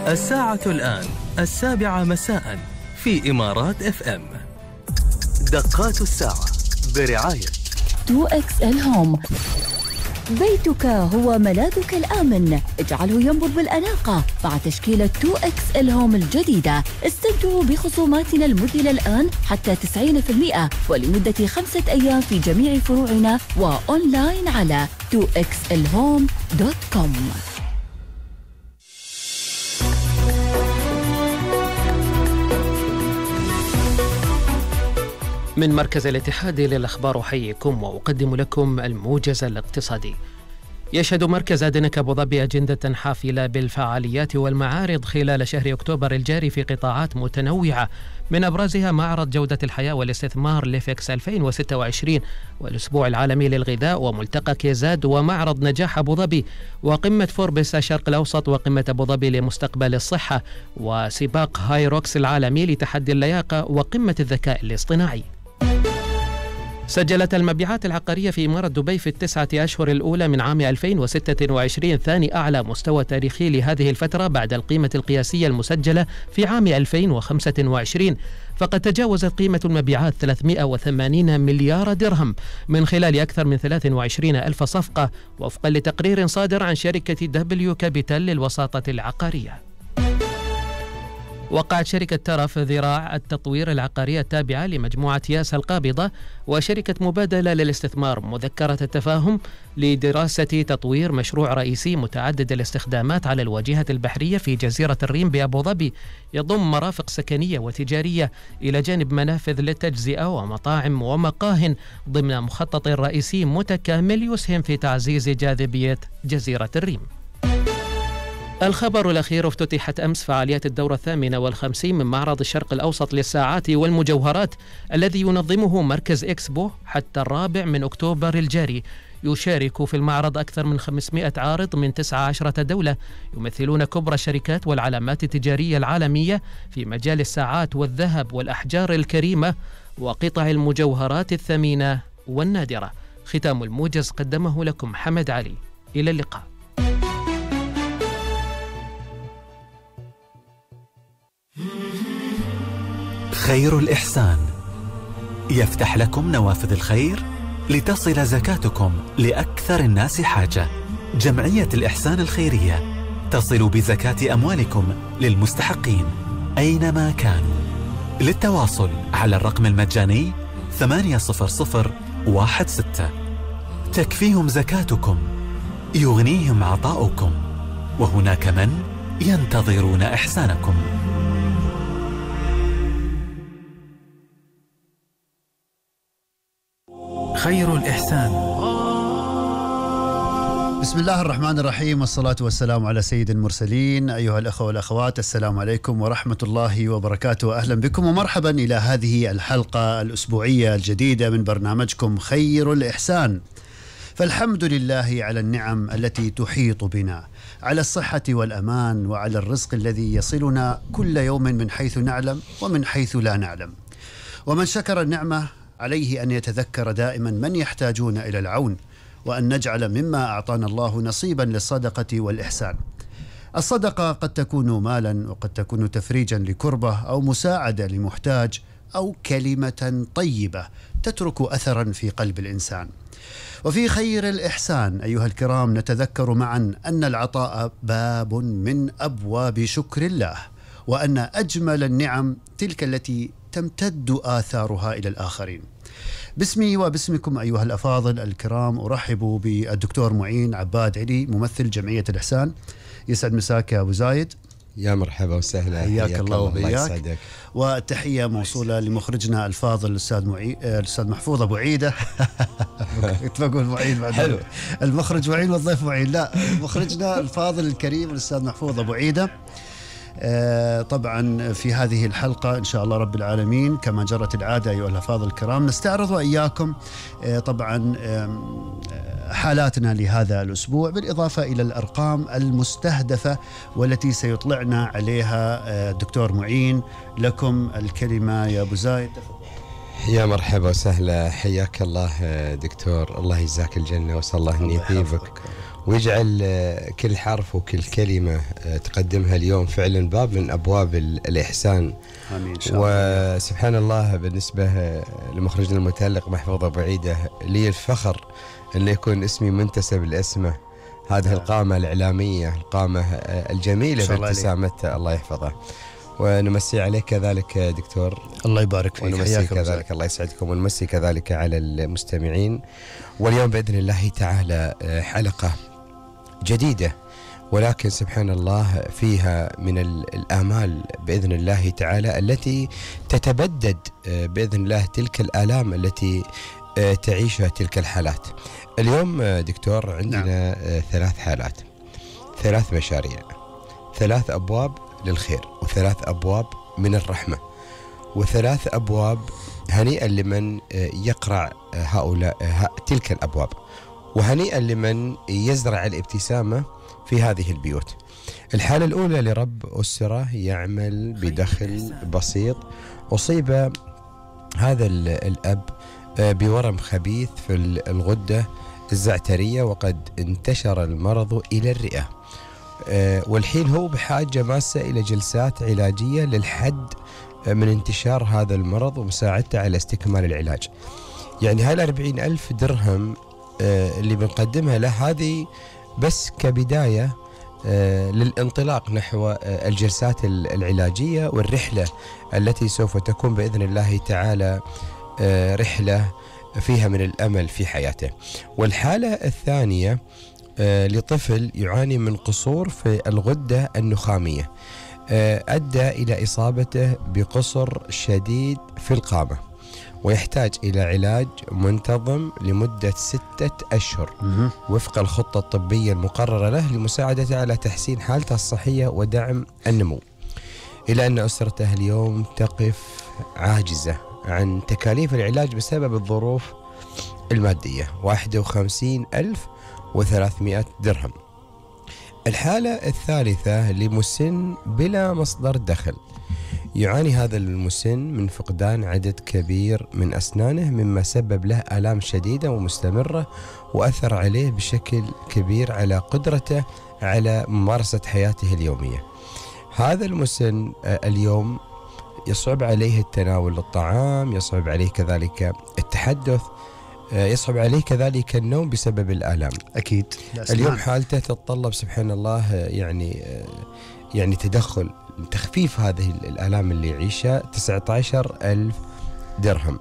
الساعة الآن 7 مساء في إمارات FM. دقات الساعة برعاية 2XL Home. بيتك هو ملاذك الآمن، اجعله ينبض بالأناقة مع تشكيلة 2XL Home الجديدة. استمتعوا بخصوماتنا المذهلة الآن حتى 90% ولمدة 5 أيام في جميع فروعنا وأونلاين على 2xlhome.com. من مركز الاتحاد للأخبار أحييكم وأقدم لكم الموجز الاقتصادي. يشهد مركز أدنك أبو ظبي أجندة حافلة بالفعاليات والمعارض خلال شهر أكتوبر الجاري في قطاعات متنوعة، من أبرزها معرض جودة الحياة والاستثمار ليفكس 2026 والأسبوع العالمي للغذاء وملتقى كيزاد ومعرض نجاح أبو ظبي وقمة فوربس الشرق الأوسط وقمة أبو ظبي لمستقبل الصحة وسباق هاي روكس العالمي لتحدي اللياقة وقمة الذكاء الاصطناعي. سجلت المبيعات العقارية في إمارة دبي في ال9 أشهر الأولى من عام 2026 ثاني أعلى مستوى تاريخي لهذه الفترة بعد القيمة القياسية المسجلة في عام 2025، فقد تجاوزت قيمة المبيعات 380 مليار درهم من خلال أكثر من 23 ألف صفقة وفقا لتقرير صادر عن شركة دبليو كابيتال للوساطة العقارية. وقعت شركة ترف ذراع التطوير العقارية التابعة لمجموعة ياس القابضة وشركة مبادلة للاستثمار مذكرة التفاهم لدراسة تطوير مشروع رئيسي متعدد الاستخدامات على الواجهة البحرية في جزيرة الريم بأبو ظبي، يضم مرافق سكنية وتجارية إلى جانب منافذ للتجزئة ومطاعم ومقاهٍ ضمن مخطط رئيسي متكامل يسهم في تعزيز جاذبية جزيرة الريم. الخبر الأخير: افتتحت أمس فعاليات الدورة 58 من معرض الشرق الأوسط للساعات والمجوهرات الذي ينظمه مركز إكسبو حتى 4 أكتوبر الجاري. يشارك في المعرض أكثر من 500 عارض من 19 دولة يمثلون كبرى الشركات والعلامات التجارية العالمية في مجال الساعات والذهب والأحجار الكريمة وقطع المجوهرات الثمينة والنادرة. ختام الموجز قدمه لكم حمد علي. إلى اللقاء. خير الإحسان يفتح لكم نوافذ الخير لتصل زكاتكم لأكثر الناس حاجة. جمعية الإحسان الخيرية تصل بزكاة أموالكم للمستحقين أينما كانوا. للتواصل على الرقم المجاني 80016. تكفيهم زكاتكم، يغنيهم عطاؤكم، وهناك من ينتظرون إحسانكم. خير الإحسان. بسم الله الرحمن الرحيم، والصلاة والسلام على سيد المرسلين. أيها الأخوة والأخوات، السلام عليكم ورحمة الله وبركاته. أهلا بكم ومرحبا إلى هذه الحلقة الأسبوعية الجديدة من برنامجكم خير الإحسان. فالحمد لله على النعم التي تحيط بنا، على الصحة والأمان، وعلى الرزق الذي يصلنا كل يوم من حيث نعلم ومن حيث لا نعلم. ومن شكر النعمة عليه أن يتذكر دائما من يحتاجون إلى العون، وأن نجعل مما أعطانا الله نصيبا للصدقة والإحسان. الصدقة قد تكون مالا، وقد تكون تفريجا لكربة، أو مساعدة لمحتاج، أو كلمة طيبة تترك أثرا في قلب الإنسان. وفي خير الإحسان أيها الكرام نتذكر معا أن العطاء باب من أبواب شكر الله، وأن أجمل النعم تلك التي تمتد آثارها إلى الآخرين. باسمي وباسمكم أيها الأفاضل الكرام أرحب بالدكتور معين عباد علي، ممثل جمعية الإحسان. يسعد مساك يا أبو زايد. يا مرحبا وسهلا، حياك الله وبياك. الله. وتحية موصولة لمخرجنا الفاضل الأستاذ محفوظ أبو عيدة. كنت بقول معين بعد. حلو. المخرج معين والضيف معين. لا، مخرجنا الفاضل الكريم الأستاذ محفوظ أبو عيدة. طبعا في هذه الحلقة إن شاء الله رب العالمين كما جرت العادة أيها الأفاضل الكرام نستعرض وإياكم طبعا حالاتنا لهذا الأسبوع، بالإضافة إلى الأرقام المستهدفة والتي سيطلعنا عليها الدكتور معين. لكم الكلمة يا أبو زايد. يا مرحبا وسهلا، حياك الله دكتور، الله يجزاك الجنة، وصلى الله أن يثيبك ويجعل كل حرف وكل كلمة تقدمها اليوم فعلا باب من أبواب الإحسان. آمين إن شاء الله. وسبحان الله بالنسبة لمخرجنا المتألق محفوظ أبو عيدة، لي الفخر أن يكون اسمي منتسب لاسمه. هذه القامة الإعلامية، القامة الجميلة بابتسامته، الله يحفظه. ونمسي عليك كذلك دكتور. الله يبارك فيك. ونمسي كذلك، الله يسعدكم، ونمسي كذلك على المستمعين. واليوم بإذن الله تعالى حلقة جديدة، ولكن سبحان الله فيها من الآمال بإذن الله تعالى التي تتبدد بإذن الله تلك الآلام التي تعيشها تلك الحالات. اليوم دكتور عندنا 3 حالات، 3 مشاريع، 3 أبواب للخير، و3 أبواب من الرحمة، و3 أبواب هنيئا لمن يقرع تلك الأبواب، وهنيئا لمن يزرع الابتسامة في هذه البيوت. الحالة الأولى لرب أسرة يعمل بدخل بسيط، أصيب هذا الأب بورم خبيث في الغدة الزعترية، وقد انتشر المرض إلى الرئة، والحين هو بحاجة ماسة إلى جلسات علاجية للحد من انتشار هذا المرض ومساعدته على استكمال العلاج. يعني هاي 40,000 درهم اللي بنقدمها له هذه بس كبداية للانطلاق نحو الجلسات العلاجية والرحلة التي سوف تكون بإذن الله تعالى رحلة فيها من الأمل في حياته. والحالة الثانية لطفل يعاني من قصور في الغدة النخامية، أدى إلى إصابته بقصر شديد في القامة، ويحتاج إلى علاج منتظم لمدة 6 أشهر وفق الخطة الطبية المقررة له لمساعدته على تحسين حالته الصحية ودعم النمو. إلى أن أسرته اليوم تقف عاجزة عن تكاليف العلاج بسبب الظروف المادية، 51,300 درهم. الحالة الثالثة لمسن بلا مصدر دخل، يعاني هذا المسن من فقدان عدد كبير من أسنانه، مما سبب له آلام شديدة ومستمرة، وأثر عليه بشكل كبير على قدرته على ممارسة حياته اليومية. هذا المسن اليوم يصعب عليه التناول الطعام، يصعب عليه كذلك التحدث، يصعب عليه كذلك النوم بسبب الآلام. أكيد. اليوم حالته تتطلب سبحان الله يعني تدخل تخفيف هذه الآلام اللي يعيشها، 19,000 درهم.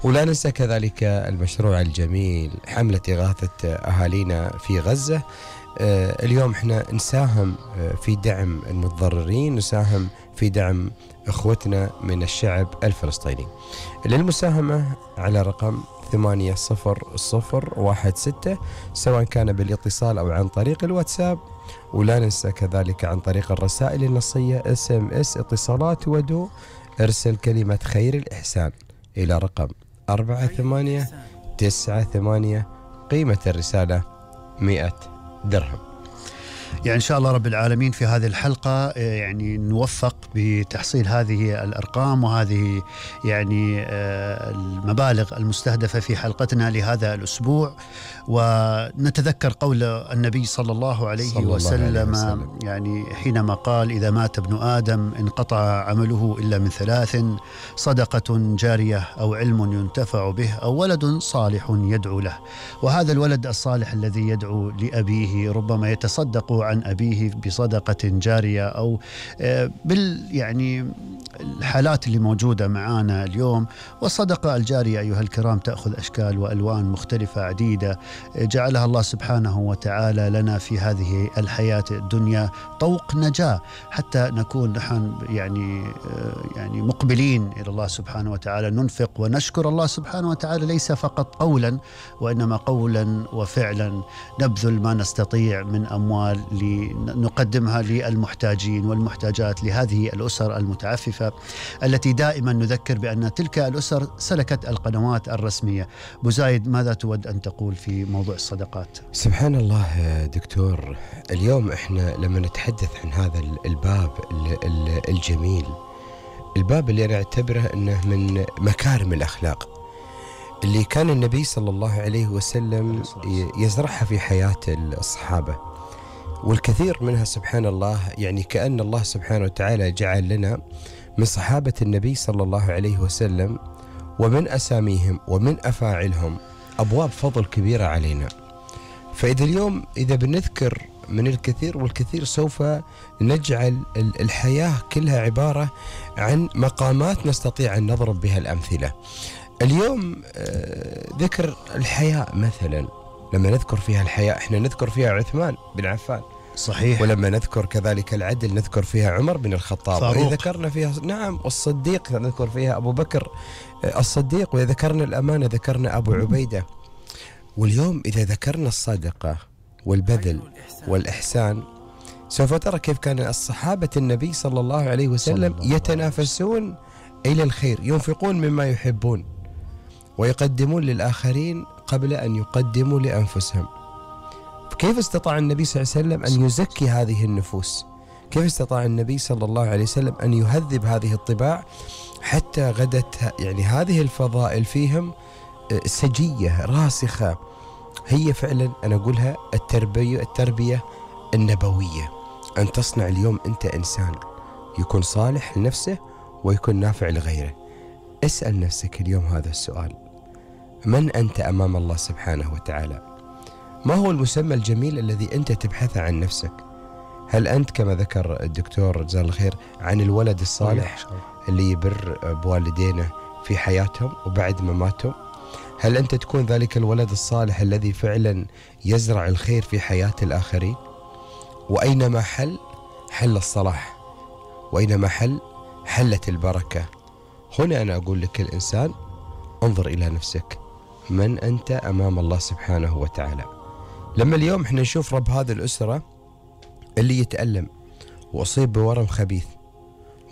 ولا ننسى كذلك المشروع الجميل حملة إغاثة أهالينا في غزة. اليوم احنا نساهم في دعم المتضررين، نساهم في دعم اخوتنا من الشعب الفلسطيني. للمساهمة على رقم 800016 سواء كان بالاتصال أو عن طريق الواتساب. ولا ننسى كذلك عن طريق الرسائل النصية SMS اتصالات ودو، ارسل كلمة خير الإحسان إلى رقم 4898، قيمة الرسالة 100 درهم. يعني إن شاء الله رب العالمين في هذه الحلقة يعني نوفق بتحصيل هذه الأرقام وهذه يعني المبالغ المستهدفة في حلقتنا لهذا الأسبوع، ونتذكر قول النبي صلى الله عليه وسلم يعني حينما قال: إذا مات ابن آدم انقطع عمله إلا من 3: صدقة جارية أو علم ينتفع به أو ولد صالح يدعو له. وهذا الولد الصالح الذي يدعو لأبيه ربما يتصدق عن أبيه بصدقة جارية أو يعني الحالات اللي موجودة معانا اليوم. والصدقة الجارية أيها الكرام تأخذ أشكال وألوان مختلفة عديدة جعلها الله سبحانه وتعالى لنا في هذه الحياة الدنيا طوق نجاة، حتى نكون نحن يعني مقبلين إلى الله سبحانه وتعالى، ننفق ونشكر الله سبحانه وتعالى ليس فقط قولا وإنما قولا وفعلا، نبذل ما نستطيع من أموال لنقدمها للمحتاجين والمحتاجات، لهذه الأسر المتعففة التي دائما نذكر بأن تلك الأسر سلكت القنوات الرسمية. بوزايد، ماذا تود أن تقول في موضوع الصدقات؟ سبحان الله دكتور، اليوم احنا لما نتحدث عن هذا الباب الجميل، الباب اللي أنا أعتبره أنه من مكارم الأخلاق، اللي كان النبي صلى الله عليه وسلم يزرعها في حياة الصحابة، والكثير منها سبحان الله يعني كأن الله سبحانه وتعالى جعل لنا من صحابة النبي صلى الله عليه وسلم ومن أساميهم ومن أفاعلهم أبواب فضل كبيرة علينا. فإذا اليوم إذا بنذكر من الكثير والكثير سوف نجعل الحياة كلها عبارة عن مقامات نستطيع أن نضرب بها الأمثلة. اليوم ذكر الحياء مثلا، لما نذكر فيها الحياء احنا نذكر فيها عثمان بن عفان، صحيح. ولما نذكر كذلك العدل نذكر فيها عمر بن الخطاب، وإذا ذكرنا فيها نعم الصديق نذكر فيها أبو بكر الصديق، وإذا ذكرنا الأمانة ذكرنا أبو عبيدة. واليوم إذا ذكرنا الصدقة والبذل والإحسان سوف ترى كيف كان الصحابة النبي صلى الله عليه وسلم يتنافسون إلى الخير، ينفقون مما يحبون ويقدمون للآخرين قبل أن يقدموا لأنفسهم. كيف استطاع النبي صلى الله عليه وسلم أن يزكي هذه النفوس؟ كيف استطاع النبي صلى الله عليه وسلم أن يهذب هذه الطباع حتى غدت يعني هذه الفضائل فيهم سجية راسخة؟ هي فعلا أنا أقولها التربية النبوية، أن تصنع اليوم أنت إنسان يكون صالح لنفسه ويكون نافع لغيره. اسأل نفسك اليوم هذا السؤال: من أنت أمام الله سبحانه وتعالى؟ ما هو المسمى الجميل الذي أنت تبحث عن نفسك؟ هل أنت كما ذكر الدكتور جزاه الله خير عن الولد الصالح اللي يبر بوالدينه في حياتهم وبعد مماتهم؟ هل أنت تكون ذلك الولد الصالح الذي فعلا يزرع الخير في حياة الآخرين؟ وأينما حل الصلاح، وأينما حلت البركة. هنا أنا أقول لك الإنسان انظر إلى نفسك، من أنت أمام الله سبحانه وتعالى. لما اليوم احنا نشوف رب هذه الأسرة اللي يتألم وأصيب بورم خبيث،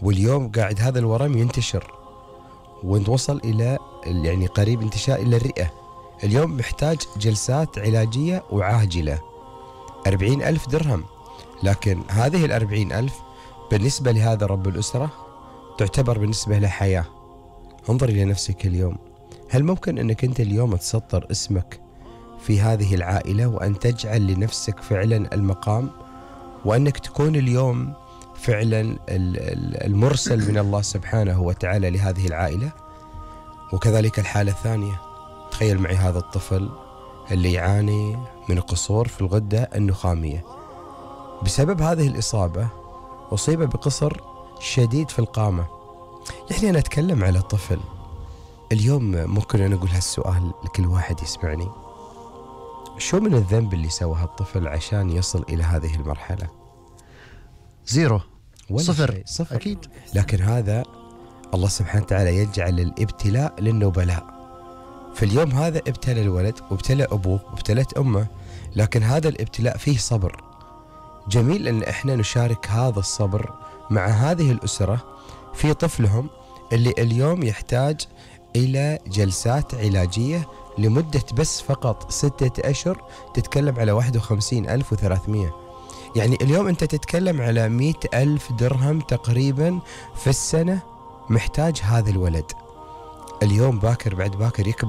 واليوم قاعد هذا الورم ينتشر ونوصل إلى يعني قريب انتشار إلى الرئة، اليوم محتاج جلسات علاجية وعاجلة 40,000 درهم، لكن هذه 40,000 بالنسبة لهذا رب الأسرة تعتبر بالنسبة له حياة. انظر إلى نفسك اليوم، هل ممكن أنك أنت اليوم تسطر اسمك في هذه العائلة وأن تجعل لنفسك فعلا المقام، وأنك تكون اليوم فعلا المرسل من الله سبحانه وتعالى لهذه العائلة؟ وكذلك الحالة الثانية، تخيل معي هذا الطفل اللي يعاني من قصور في الغدة النخامية، بسبب هذه الإصابة أصيب بقصر شديد في القامة. يعني أنا أتكلم على طفل اليوم، ممكن أنا أقول هالسؤال لكل واحد يسمعني: شو من الذنب اللي سواه الطفل عشان يصل إلى هذه المرحلة؟ زيرو، صفر أكيد. لكن هذا الله سبحانه وتعالى يجعل الابتلاء للنبلاء. في اليوم هذا ابتلى الولد وابتلى أبوه وابتلت أمه، لكن هذا الابتلاء فيه صبر. جميل أن احنا نشارك هذا الصبر مع هذه الأسرة في طفلهم اللي اليوم يحتاج إلى جلسات علاجية لمدة بس فقط 6 أشهر، تتكلم على 51,300. يعني اليوم أنت تتكلم على 100,000 درهم تقريبا في السنة محتاج هذا الولد. اليوم باكر بعد باكر يكبر